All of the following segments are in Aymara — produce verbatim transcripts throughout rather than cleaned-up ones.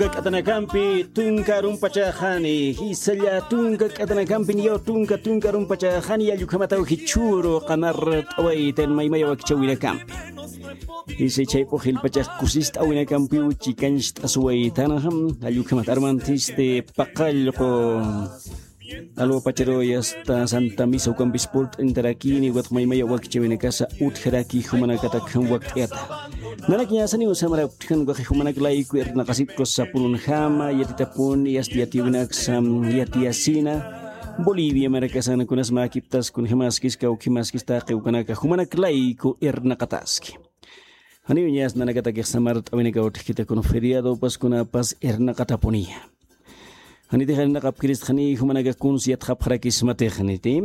K'atanakampi tunka arumpachaxani, jisalla tunka k'atanakampi niyaw tunka tunka arumpachaxani, yallukhamataw jichhuru qamart'awaytan maymaya wakichawinakampi. Jisa chayp'u jilpachax kusist'awinakampiw chikancht'asuwaytanxa, jallukhamat armantisti paqallqu. Alwapacharuy asta Santa Misa ukampis purt'intarakini, ukat maymaya wakichawinakasa utjaraki jumanakatakjam wakt'iyata. Nanakiñasaniw samara utjan waqi jumanak layku irnaqasipku sapulunjama, yatitapuni asta yatiyawinaksa yatiyasina. Bolivia markasan kunas mäkiptas kunjamaskis kawkhimaskis taqi ukanaka jumanak layku irnaqataski. Janiw ñas nanakatakix samart'awinakaw utjkita kun feriado paskunapas irnaqatapuniya. Janitix irnaqapkiristxani jumanaka kuns yatxapxarakismatix janiti.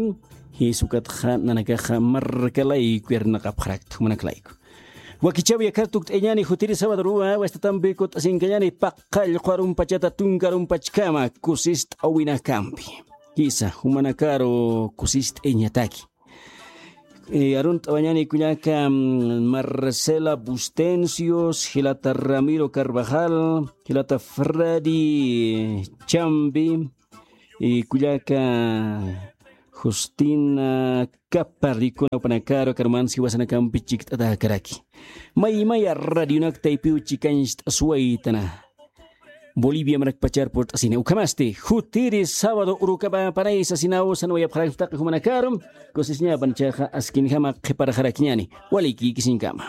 Jisukatxa nanakaxa marka layku irnaqapxarakta jumanak layku. Wakichawi akar tukt'añani jutiri sabado ruwa wastatampi kut'asinkañani paqallqu arumpachata tunka arumpachkama kusist'awinakampi. Jisa jumanakaru kusist'añataki. Arunt'awañani kullaka Marcela Bustencios, jilata Ramiro Carvajal, jilata Freddy Chambi, kullaka Justina Caparricuna upanakaru karmansi wasanakampi chikt'atakaraki. Maymaya radionak taypiw chikancht'asuwaytana. Bolivia marakpachar purt'asini ukhamasti jutiri sabado urukapa panaysa sinaw sanwayapxarakptaqi jumanakarum. Kusisñapan chaxa askinjama qhiparxarakiñani. Walikikisinkama.